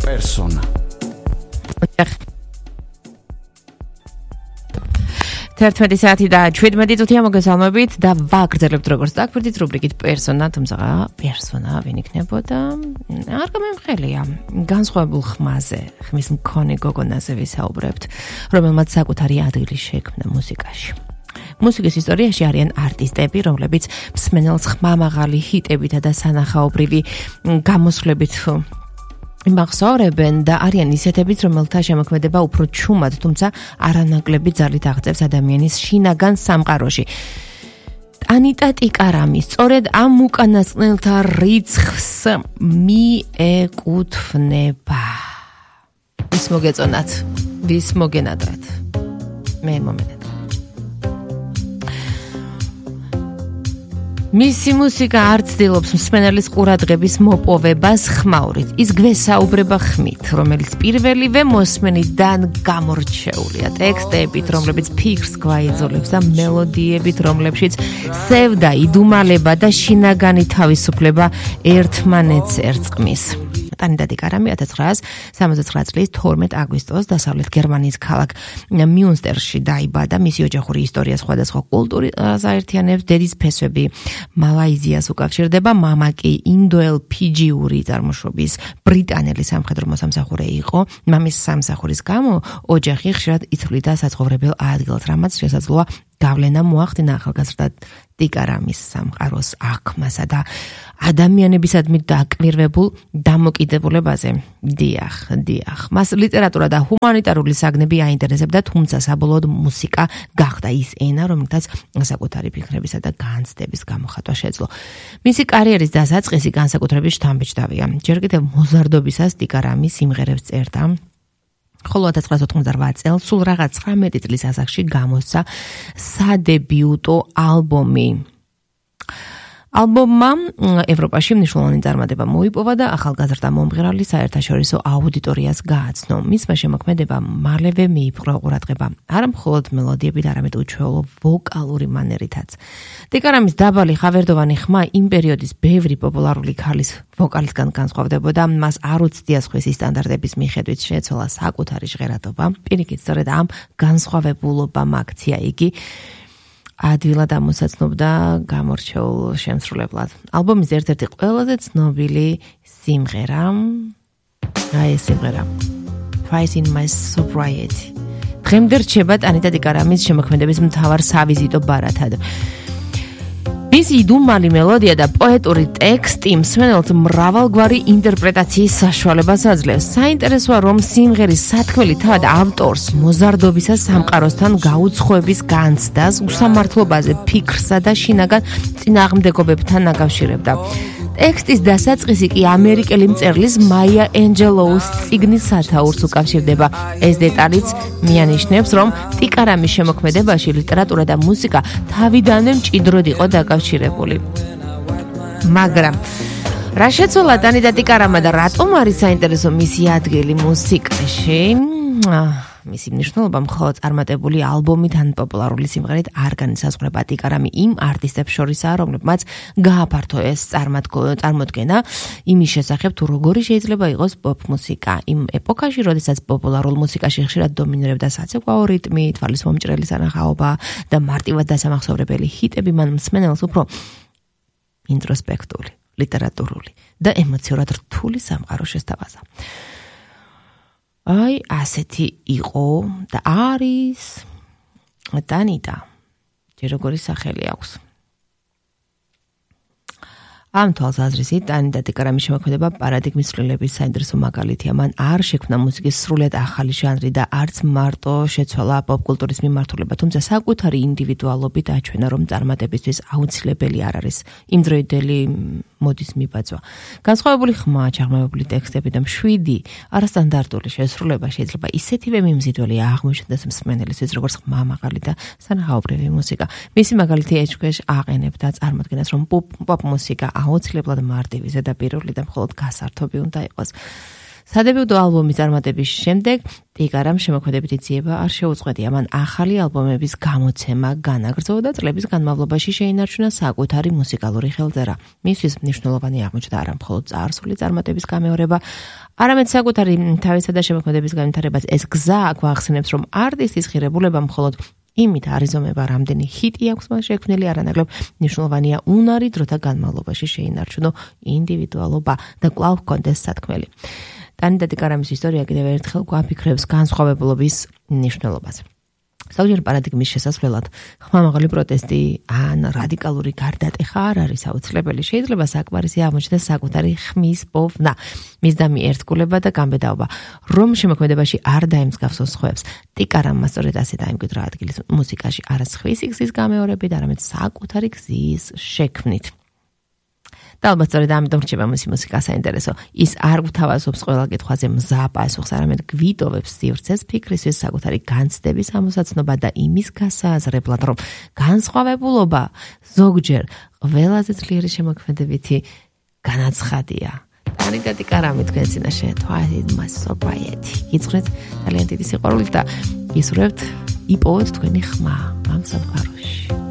პერსონა. Tertmeti saati da 17 წუთია მოგესალმებით და ვაგრძელებთ როგორც დაგვირდით რუბრიკით პერსონა, თუმცა პერსონა ვინ იქნებოდა? არ გამემხელია. განსხვავებულ ხმაზე, ხმის მქონე გოგონაზე ვისაუბრებთ, რომელმაც საკუთარი ადგილი შექმნა მუსიკაში. მუსიკის ისტორიაში არიან არტისტები, რომლებიც მსმენელს ხმამაღალი ჰიტებითა და სანახაობრივი გამოსვლებით იმახსოვრებენ და არიან ისეთებიც, რომელთა შემოქმედება უფრო ჩუმად, თუმცა არანაკლები ძალით აღწევს ადამიანის შინაგან სამყაროში. ანიტა ტიკარამი სწორედ ამ უკანასკნელთა რიცხვს მიეკუთვნება. ვის მოგეწონათ? ვის მოგენადათ? მე მომენადათ. მისი მუსიკა არ ცდილობს მსმენელის ყურადღების მოპოვებას ხმაურით. ის გვესაუბრება ხმით, რომელიც პირველივე მოსმენიდან გამორჩეულია. ტექსტებით, რომლებიც ფიქრს გვაიძულებს და მელოდიებით, რომლებშიც სევდა, იდუმალება და შინაგანი თავისუფლება ერთმანეთს ერწყმის. ანიტა ტიკარამი 1979 წლის 12 აგვისტოს დასავლეთ გერმანიის ქალაქ მიუნსტერში დაიბადა. მისი ოჯახური ისტორია სხვადასხვა კულტურას აერთიანებს. დედის ფესვები მალაიზიას უკავშირდება, მამა კი ინდოელ-ფიჯიური წარმოშობის ბრიტანელი სამხედრო მოსამსახურე იყო. მამის სამსახურის გამო ოჯახი ხშირად იცვლიდა საცხოვრებელ ადგილს, რამაც შესაძლოა გავლენა მოახდინა ახალგაზრდა ტიკარამის სამყაროს აღქმასა და ადამიანებისადმი დაკვირვებულ დამოკიდებულებაზე. დიახ. მას ლიტერატურა და ჰუმანიტარული საგნები აინტერესებდა, თუმცა საბოლოოდ მუსიკა გახდა ის ენა, რომელთაც საკუთარი ფიქრებისა და განცდების გამოხატვა შეძლო. მისი კარიერის დასაწყისი განსაკუთრებით შთამბეჭდავია. ჯერ კიდევ მოზარდობისას ტიკარამი სიმღერებს წერდა. ხოლო 1998 წელს სულ რაღაც 19 წლის ასაკში გამოსცა სადებიუტო ალბომი. ალბომმა ევროპაში მნიშვნელოვანი წარმატება მოიპოვა და ახალგაზრდა მომღერალი საერთაშორისო აუდიტორიას გააცნო. მისმა შემოქმედებამ მალევე მიიპყრო ყურადღება არა მხოლოდ მელოდიებით, არამედ უჩვეულო ვოკალური მანერითაც. ტიკარამის დაბალი ხავერდოვანი ხმა იმ პერიოდის ბევრი პოპულარული ქალის ვოკალისგან განსხვავდებოდა. მას არ უცდია სხვისი სტანდარტების მიხედვით შეეცვალა საკუთარი ჟღერადობა. პირიქით, სწორედ ამ განსხვავებულობამ აქცია იგი ადვილად ამოსაცნობდა გამორჩეულ შემსრულებლად. ალბომის ერთ-ერთი ყველაზე ცნობილი სიმღერა ეს სიმღერა Fight in My Sobriety. დღემდე რჩება ანიტა ტიკარამის შემოქმედების მთავარ სავიზიტო ბარათად. მისი იდუმალი მელოდია და პოეტური ტექსტი მსმენელს მრავალგვარი ინტერპრეტაციის საშუალებას აძლევს. საინტერესოა, რომ სიმღერის სათქმელი თავად ავტორს მოზარდობისას სამყაროსთან გაუცხოების განცდას, უსამართლობაზე, ფიქრსა და შინაგან წინააღმდეგობებთან აკავშირებდა. ტექსტის დასაწყისი კი ამერიკელი მწერლის მაია ენჯელოუს წიგნის სათაურს უკავშირდება. ეს დეტალიც მიანიშნებს, რომ ტიკარამის შემოქმედებაში ლიტერატურა და მუსიკა თავიდანვე მჭიდროდ იყო დაკავშირებული. მაგრამ რა შეცვალა ანიტა ტიკარამმა და რატომ არის საინტერესო მისი ადგილი მუსიკაში? მისი მნიშვნელობა მხოლოდ წარმატებული ალბომით ან პოპულარული სიმღერით არ განისაზღვრება. ტიკარამი იმ არტისტებს შორისაა, რომლებმაც გააფართო ეს წარმოდგენა იმის შესახებ, თუ როგორი შეიძლება იყოს პოპ მუსიკა. იმ ეპოქაში, როდესაც პოპულარულ მუსიკაში ხშირად დომინირებდა საცეკვაო რიტმი, თვალის მომჭრელი სანახაობა და მარტივად დასამახსოვრებელი ჰიტები, მან მსმენელს უფრო ინტროსპექტული, ლიტერატურული და ემოციურად რთული სამყარო შესთავაზა. აი, ასეთი იყო და არის ანიტა. ჯერ როგორი სახელი აქვს. ამ თვალსაზრისით ანიტა ტიკარამის შემოქმედება პარადიგმის ცვლილების საინტერესო მაგალითია. მან არ შექმნა მუსიკის სრულიად ახალი ჟანრი და არც მარტო შეცვალა პოპკულტურის მიმართულება, თუმცა საკუთარი ინდივიდუალობით აჩვენა, რომ წარმატებისთვის აუცილებელი არ არის იმდროინდელი მოდის მიბაძვა. განსხვავებული ხმა, ჩაღრმავებული ტექსტები და მშვიდი არასტანდარტული შესრულება შეიძლება ისეთივე მიმზიდველი აღმოჩნდეს მსმენელისთვის, როგორც ხმამაღალი და სანახაობრივი მუსიკა. მისი მაგალითი ეჭქვეშ აყენებდა წარმოდგენას, რომ პოპ მუსიკა აუცილებლად მარტივი, ზედაპირული და მხოლოდ გასართობი უნდა იყოს. სადებიუტო ალბომის წარმატების შემდეგ ტიკარამ შემოქმედებითი ძიება არ შეუწყვეტია. მან ახალი ალბომების გამოცემა განაგრძო და წლების განმავლობაში შეინარჩუნა საკუთარი მუსიკალური ხელწერა. მისთვის მნიშვნელოვანი აღმოჩნდა არა მხოლოდ წარსული წარმატების გამეორება, არამედ საკუთარი თავისა და შემოქმედების განვითარებას. ეს გზა გვახსენებს, რომ არტისტის ღირებულება მხოლოდ იმით არიზომება, რამდენი ჰიტი აქვს მას შექმნილი, არანაკლებ მნიშვნელოვანია უნარი დროთა განმავლობაში შეინარჩუნო ინდივიდუალობა და კვლავ ჰქონდეს სათქმელი. ტანი და ტიკარამის ისტორია კიდევ ერთხელ გვაფიქრებს განსხვავებულობის მნიშვნელობაზე. ზოგჯერ პარადიგმის შესასვლელად ხმამაღალი პროტესტი ან რადიკალური გარდატეხა არ არის აუცილებელი. შეიძლება საკმარისი აღმოჩნდეს საკუთარი ხმის პოვნა, მისდამი ერთგულება და გამბედაობა, რომ შემოქმედებაში არ დაემსგავსოს სხვებს. ტიკარამმა სწორედ ასე დაიმკვიდრა ადგილი მუსიკაში არა სხვისი გზის გამეორებით, არამედ საკუთარი გზის შექმნით. და ალბათ სწორედ ამიტომ რჩება მისი მუსიკა საინტერესო. ის არ გვთავაზობს ყველა კითხვაზე მზა პასუხს, არამედ გვიტოვებს სივრცეს ფიქრისთვის საკუთარი განცდების ამოსაცნობა და იმის გასააზრებლად, რომ განსხვავებულობა ზოგჯერ ყველაზე ძლიერი შემოქმედებითი განაცხადია. ტანი და ტიკარამი თქვენს წინაშე Twilight My Sobriety. გიძღვნით ძალიან დიდი სიყვარულით და გისურვებთ იპოვოთ თქვენი ხმა ამ სამყაროში.